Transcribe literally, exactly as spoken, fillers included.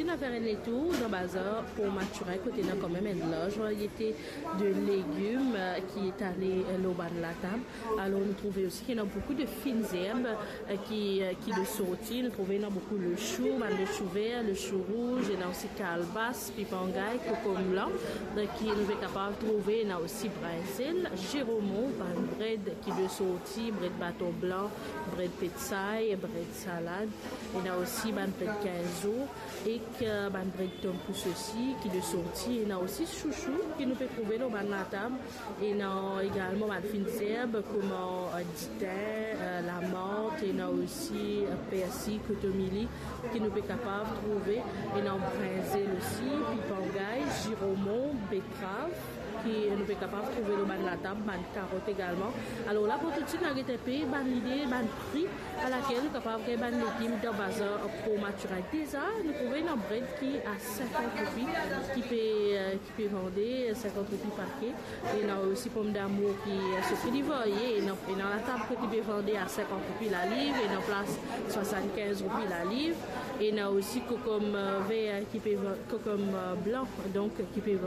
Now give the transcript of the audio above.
Nou fer enn letour dan bazar Port Mathurin, kot ena kanmem enn larz variete de legim, eh, ki etale, eh, lor bann latab. Alor, nou trouve osi ki ena boukou de fine zerb, eh, ki, eh, ki de sorti. Nou trouve ena boukou lechou, bann lechou ver, lechou rouz, ena osi kalbas, pipangay, kokom blan, eh, ki nou pe kapav trouve, ena osi brinzel, ziromon, bann bred ki de sorti, bred baton blan, bred petsay, bred salad, ena osi bann bred kinz zour, ek, eh, bann bred tom pou sosi ki de sorti, ena osi sousou ki nou pe trouve lor bann latab, ena egalman bann fine zerb kouma, eh, ditin, eh, lamart, ena osi, eh, persi, kotomili ki nou pe kapav trouve, ena brinzel osi, pipangay, ziromon, betrav, ki nou pe kapav trouve lor bann latab, bann karot egalman. Alor la, pou toutswit, nou al get enpe bann lide, bann pri alakel nou kapav gagn bann legim dan bazar Port Mathurin. Deza, nou trouve ena bred ki a sinkant roupi, ki pe, eh, ki pe vande sinkant roupi pake. Ena osi pomdamour ki, eh, so pri li varye, ena, ena latab kot li pe vande a sinkant roupi laliv, ena plas swasann-kinz roupi laliv, ena osi kokom, eh, ver ki pe va-, kokom, eh, blan, donk ki pe